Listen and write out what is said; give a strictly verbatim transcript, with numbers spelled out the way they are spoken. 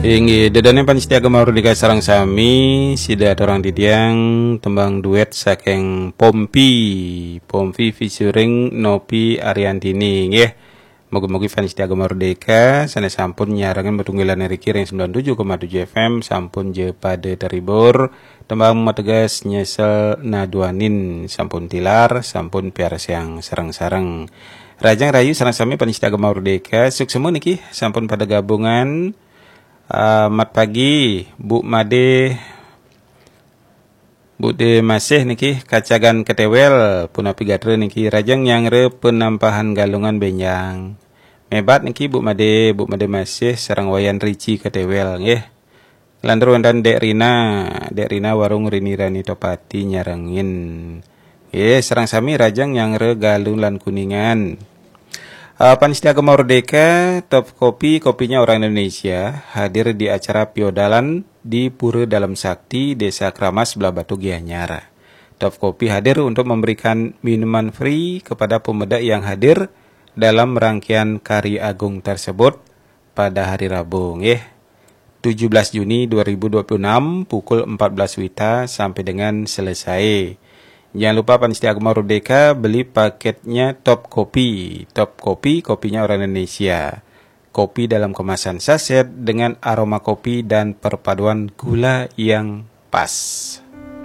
Inggih, ida dané pamiarsa Gema Merdeka sareng sami, sida aturang titiang tembang duet saking Pompi, Pompi featuring Nopi Ariantini, nggih. Mugi-mugi pamiarsa Gema Merdeka sané sampun nyarengin tetunggilan riki ring sembilan tujuh koma tujuh F M sampun ja pada terhibur. Tembang mateges nyesel naduanin sampun tilar, sampun piarsayang sareng-sareng. Rahajeng rahayu sareng sami pamiarsa Gema Merdeka, suksma niki sampun pada gabungan. Selamat pagi, Bu Made, Bu De Masih niki, kacagan ketéwél, punapi gatra niki, rahajeng nyanggra penampahan Galungan bénjang. Mébat niki Bu Made, Bu Made Masih sareng Wayan Rici ketéwél, nggih. Lantur wénten Dék Rina, Dék Rina warung Rini Rani Topati nyarengin. Nggih, sareng sami rahajeng nyanggra Galuh lan Kuningan. Eh, pamiarsa Gema Merdeka, Top Kopi, kopinya orang Indonesia, hadir di acara Piodalan di Pura Dalem Sakti, Desa Kramas, Blahbatuh, Gianyar. Top Kopi hadir untuk memberikan minuman free kepada pemuda yang hadir dalam rangkaian Karya Agung tersebut pada hari Rabu, nggih. Tujuh belas Juni dua ribu dua puluh enam, pukul empat belas wita sampai dengan selesai. Jangan lupa pamiarsa Gema Merdeka, beli paketnya Top Kopi. Top Kopi, kopinya orang Indonesia. Kopi dalam kemasan saset dengan aroma kopi dan perpaduan gula yang pas.